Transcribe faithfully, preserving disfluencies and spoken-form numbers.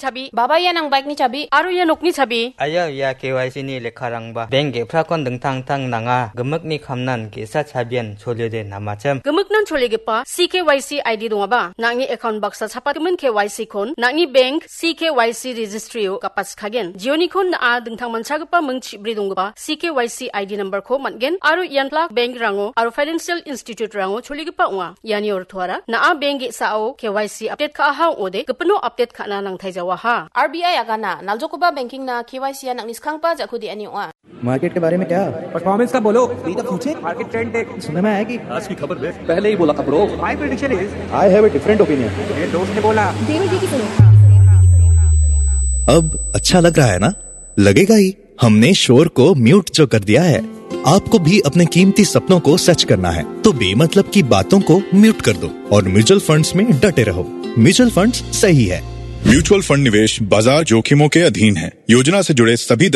chabi, baba ia nang bike-ni chabi, aro ia nokni chabi. Aia, ia K Y C-ni lekkarangba bank ge·prakon dingtang dingtang nanga. Gimikni kamnan ge·sa chabian choliode namachim. Gimiknan choligipa C K Y C I D dongaba, nang·ni account baksa chapatgimin K Y C-kon nang·ni bank C K Y C registry-o gapatskagen. Jionikon na·a dingtang manchagipa ming chibri donggipa C K Y C I D number-ko man·gen aro ian plak bank-rango aro financial institute-rango choligipa ong·a. Iani ortoara na·a bank ge·sao K Y C update ka·aha ong·ode, gipino update ka·na nangtaijawaha. R B I agana, naljokoba banking-na K Y C-a nang·ni skanggipa ja·ko de·ani ong·a. Market के बारे में क्या? परफॉर्मेंस का बोलो। Be the future. Market trend देख। सुनने में आया कि आज की खबर देख। पहले ही बोला था bro. My prediction is. I have a different opinion. मेरे दोस्त ने बोला। देवर जी की सुनो। अब अच्छा लग रहा है ना? लगेगा ही। हमने शोर को म्यूट जो कर दिया है। आपको भी अपने कीमती सपनों को सच करना है, तो बेमतलब की बातों को म्यूट कर दो और म्यूचुअल फंड्स में डटे रहो। म्यूचुअल फंड्स सही है। म्यूचुअल फंड निवेश बाजार जोखिमों के अधीन है। योजना से जुड़े सभी